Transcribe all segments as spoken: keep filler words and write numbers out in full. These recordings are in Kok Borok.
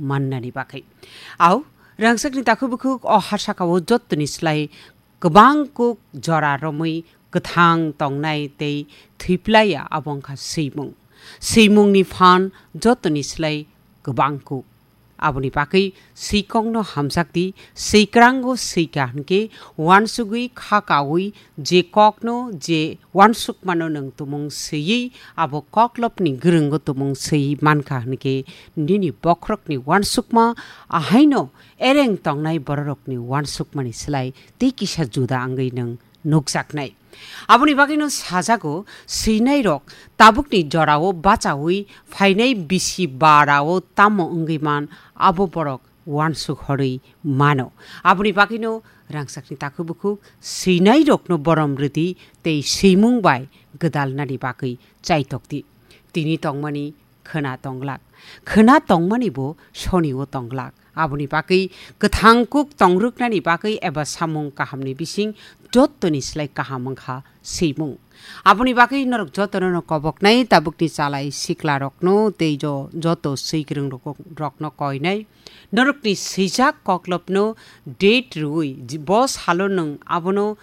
mannani bagwi. Au, rangchakni takhuk bukhuk o ha sakao jottoni slai kwbang kuk jora romwi kwthang tongnai tei thwiplaiya abo wngkha swimung. Swimungni phan jottoni slai kwbang kuk. Aboni bagwi swikokno hamjakdi, swikrango swika hwnkhe uansugwi kha kaui je kokno je uansukmano nwng tumung swiwi abo koklopni gwrwngo tumung swiwi mankha hwnkhe nini bokhorokni uansukma ahaino ereng tongnai bororokni uansukmani slai tei kisa juda wngwi nwng nukjaknai. Aboni bagwino sajago, swinairok tabukni jorao bachaui phainai bisi barao tamo wngwi man, abo borok uansuk horwi mano. Aboni bagwino rangchakni takhuk bukhuk swinairokno borom rwdi tei swimung bai gwdalnani bagwi chaitokdi. Tini tongmani khwna tonglak. Khwna tongmani bo sonio tonglak. Aboni bagwi kwthang kuk tongrwknani bagwi eba samung kahamni bising jottoni slai kaham wngkha swimung. Aboni bagwi norok jotono no koboknai tabukni chalai siklarokno tei jo-, joto swikwrwng rok-, rokno koinai. Norokni swijak koklopno date rwui ji-, bo salo nwng abono,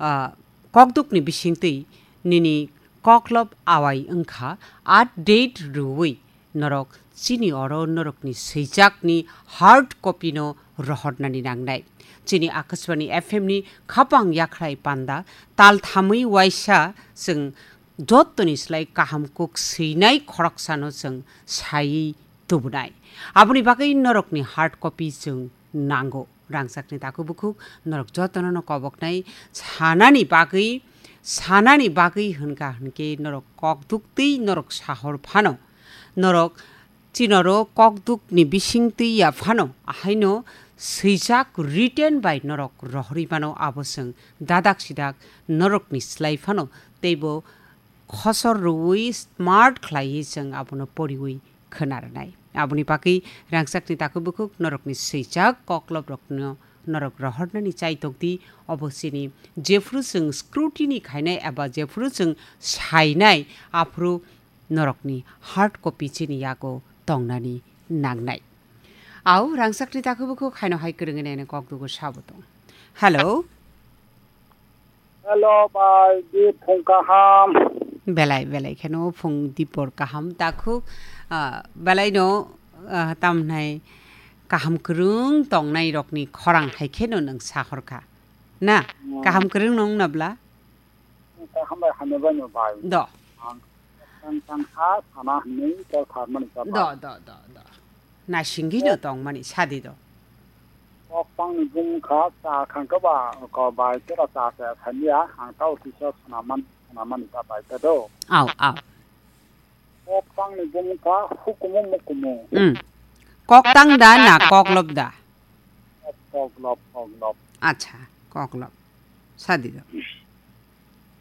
ah, kokdukni bisingtwi nini koklop awai wngkha, update rwui norok chini oro norokni swijakni hard copy no rohornani nangnai. Chini Akashbani F M ni khapang yakhrai panda tal thamwi waisa chwng jottoni slai kaham kuk swinai khoroksano chwng saiwi tubunai. Aboni bagwi norokni hard copy chwng nango. Rangchakni takhuk bukhuk norok jotono no koboknai sanani bagwi, sanani bagwi hwnkha hwnkhe norok kokduk tei norok sahor phano. Norok chinoro kokdukni bising twi ya phano, ahaino swijak written bai norok rohorwi mano, abo chwng dadak sidak norokni slai phano teibo khosor rwui smart khlaiwi chwng abono poriwi khwna rwnai. Aboni bagwi rangchakni takhuk bukhuk norokni swijak kokloprokno norok rohornani chaitokdi, obo chini jephru chwng scrutiny khainai eba jephru chwng sainai, aphuru norokni hard copy chini yago tongnani nangnai. Au rangchakni takhuk bukhuk haino hai kwrwngwi naina kokdugo sabo tong. Hello. Hello, bai, di phung kaham. Belai, belai kheno phung dipor kaham takhuk, ah, belai no, ah, tamhnai kaham kwrwng tongnai rokni khorang hai kheno nwng sahorkha. Na, hmm, kaham kwrwng nung nabla? Kaham bai hamya bai no bai. Do. Ang tang tang ha sana hwnwi kok tharmani cha bai. Do, do, do, do. Naisingino tongmani sadi do. Kok tangni bumkha cha khangkhe ba ko bai tera cha cha thania ang tao tisa sanaman sanamani ta bai ta do. Au, au. Kok tangni bumkha hukumu mukumu. Hmm. Kok tang da na kok lop da? Kok lop, kok lop. Acha, kok lop. Sadi do.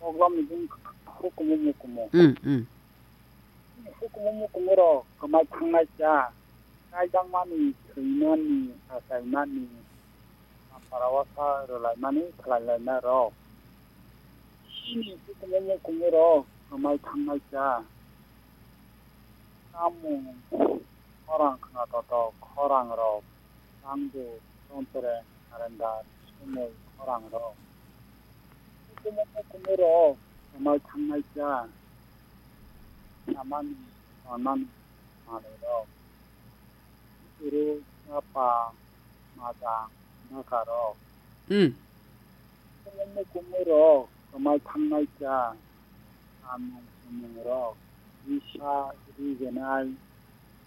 Kok lopni bumkha hukumu mukumu. Hmm, hmm. Hukumu mukumu rok kwmai thangnai cha, kaijangmani, thwimani, achaimani, ampara wasa rwlaimani khlailainai rok. Chini hukumu mukumu rok kwmai thangnai cha, tamung, khorang khwnatotok, khorang rok, tangbo, tontre, arenda, sumui, khorang rok. Hukumu mukumu rok kwmai thangnai cha, samani, tonmani, manwi rok. Uru, chapa, majang, bwkha rok. Hmm. Hukumu mukumu rok kwmai thangnai cha, samung sumung rok, risa, rigenai,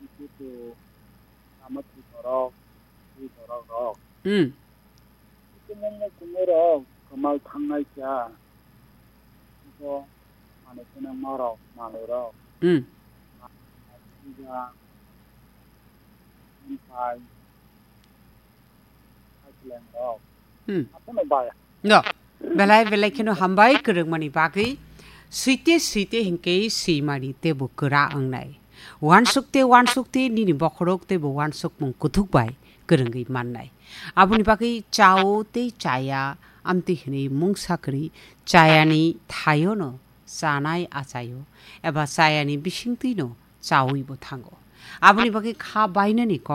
ikutu, tamathi borok, ri borok rok. Hmm. Hukumu mukumu rok kwmai thangnai cha, iko manwi twnangma rok, manwi rok. Hmm. Puja, bumthai, Thailand rok. Hmm. Apono bai. No. Belai belai kheno hambai kwrwngmani bagwi. Swite swite hinkhe swimani teibo kwra wngnai. Wansukte wansukte nini bokhorok teibo wansukmung kuthuk bai kwrwngwi mannai. Aboni bagwi chao tei chaya amtwi hwnwi mungsa kwrwi chayani thaiono chanai achaio eba chayani bisingtwino chaui bo thango. Aboni bagwi kha bainani kok